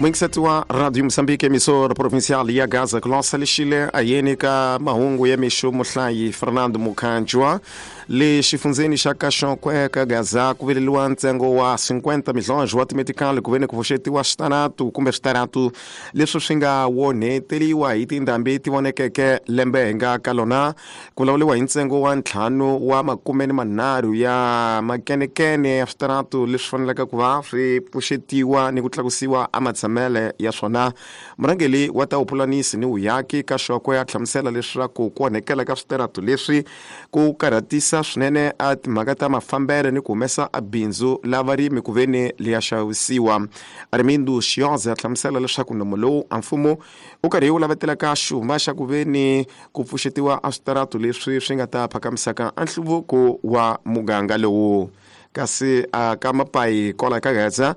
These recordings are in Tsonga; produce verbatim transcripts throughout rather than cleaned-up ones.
Mwingiseti wa Radio Moçambique, emissora provincial ya Gaza Colossa lexile ayeni ka mahungu ya mixo muhlayi Fernando Mukhanjwa. Le xifundzeni xa Kaxokwe ka Gaza ku veleliwa ntsengo wa cinquenta milhões wa timetikali ku veni ku pfuxetiwa switaratu kumbe switaratu leswi swi nga wonheteriwa hi tindhambi ti vonekeke lembe hi nga ka lona. Ku vulavuriwa hi ntsengo wa ntlhanu wa makume ni manharhu ya makenekene ya switaratu leswi faneleke ku va swi pfuxetiwa ni ku tlakusiwa ematshamele ya swona. Murhangeri wa ta vupulanisi ni vuyaki Kaxokwe a hlamusela leswaku ku onhekela ka switaratu leswi ku karhatisa swinene a timhaka ta mafambelo ni ku humesa a bindzu la varimi ku veni liya xavisiwa. Armindo Xioza a hlamusela leswaku nomo lowu a mfumo wu karhi wu lavetelaka xuma xa ku veni ku pfuxetiwa a switaratu leswi swi nga ta phakamisaka a nhluvuko wa muganga lowu. Kasi a ka Mapayi kwala ka Gaza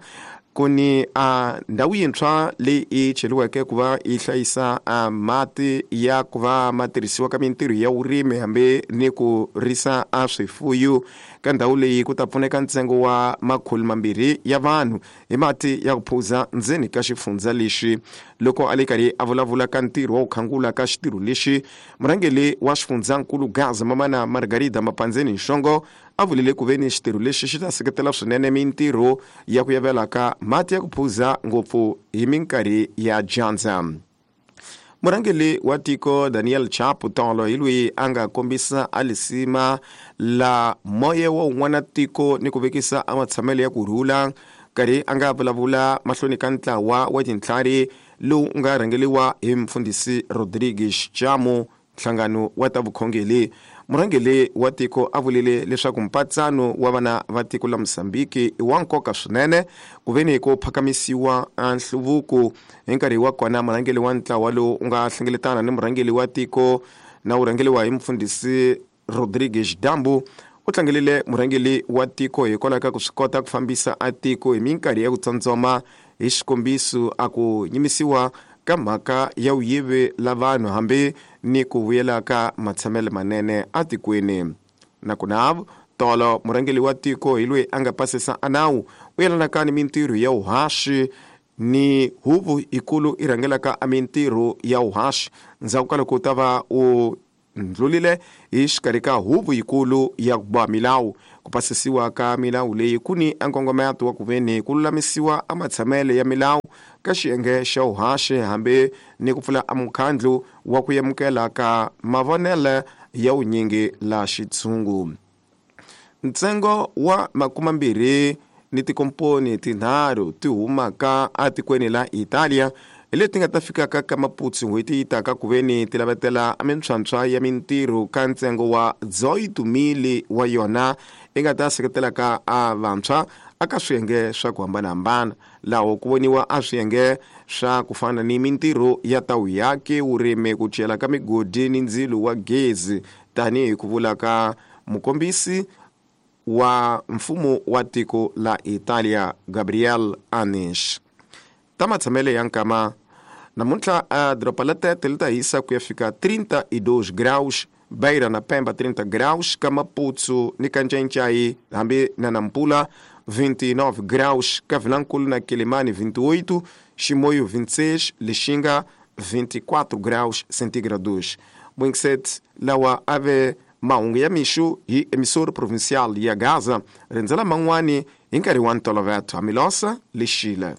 ku ni a ndhawu yintshwa leyi i cheriweke ku va yi hlayisa a mati ya ku va ma tirhisiwa ka mintirho ya vurimi hambi ni ku risa a swifuyo. Ka ndhawu leyi ku ta pfuneka ntsengo wa makhulu mambirhi ya vanhu hi mati ya ku phuza ndzeni ka xifundza lexi. Loko a le karhi a vulavula ka ntirho wa ku khangula ka xitirho lexi, murhangeri wa xifundzankulu Gaza Mamana Margarida Mapandzeni Nxongo a vulile ku veni xitirho lexi xi ta seketela swinene mintirho ya ku yavela ka mati ya ku phuza ngopfu hi minkarhi ya dyandza. Murhangeri wa tiko Daniel Chapo tolo hi loyi a nga kombisa a lisima la moya wa un'wana tiko ni ku vekisa a matshamelo ya ku rhula karhi a nga vulavula mahlweni ka ntlawa wa tintlhari lowu nga rhangeriwa hi mfundhisi Rodrigues Chamo, nhlangano wa ta vukhongeri. Murhangeri wa tiko a vulile leswaku mpatsano wa vana va tiko la Mozambique i wa nkoka swinene ku veni ku phakamisiwa a nhluvuko. Hi nkarhi wa kona murhangeri wa ntlawa lowu u nga hlengeletana ni murhangeri wa tiko na wu rhangeriwa hi mfundhisi Rodrigues Dambu u tlangelile murhangeri wa tiko hikwalaho ka ku swi kota ku fambisa a tiko hi minkarhi ya ku tsandzoma, hi xikombiso a ku nyimisiwa ka mhaka ya vuyivi la vanhu hambi ni ku vuyela ka matshamelo manene atikweni. Nakona tolo murhangeri wa tiko hi loyi a nga pasisa a nawu u yelanaka ni mintirho ya vuhaxi ni huvo yikulu i rhangelaka a mintirho ya vuhaxi ndzhaku ka loko u ta va u ndlulile hi xikarhi ka huvo yikulu ya ku boha milawu. Ku pasisiwa ka milawu leyi ku ni a nkongometo wa ku veni ku lulamisiwa a matshamelo ya milawu ka xiyenge xa vuhaxi hambi ni ku pfula a mukhandlu wa ku amukela ka mavonelo ya vunyingi la xitshungu. Ntsengo wa makumambirhi ni tikomponi tinharhu ti humaka atikweni la Italia hi leti nga ta fikaka ka Maputo n'hweti yi taka ku veni ti lavetela mintlhontlho ya mintirho ka ntsengo wa dezoito mil wa yona yi nga ta seketelaka a vantshwa aka swiyenge swa ku hambanahambana, laho ku voniwa a swiyenge swa ku fana ni mintirho ya ta vuyaki, vurimi, ku cela ka migodi ni ndzilo wa gezi, tanihi ku vula ka mukombisi wa mfumo wa tiko la Italia Gabriel Anish. Ta matshamelo ya nkama namuntlha a doroba la Tete li ta hisa ku ya fika trinta e dois graus, Beira na Pemba trinta graus, ka Maputo ni ka Ncencai hambi na Nampula vinte e nove graus, ka Vilankulu na Quelimane vinte e oito, Chimoio vinte e seis, Lixinga vinte e quatro graus centígrados. Mwingiseti lawa ave mahungu ya mixo hi emissora provincial ya Gaza rindzela man'wani hi nkarhi wa ntolovelo. Amilosa Lixile.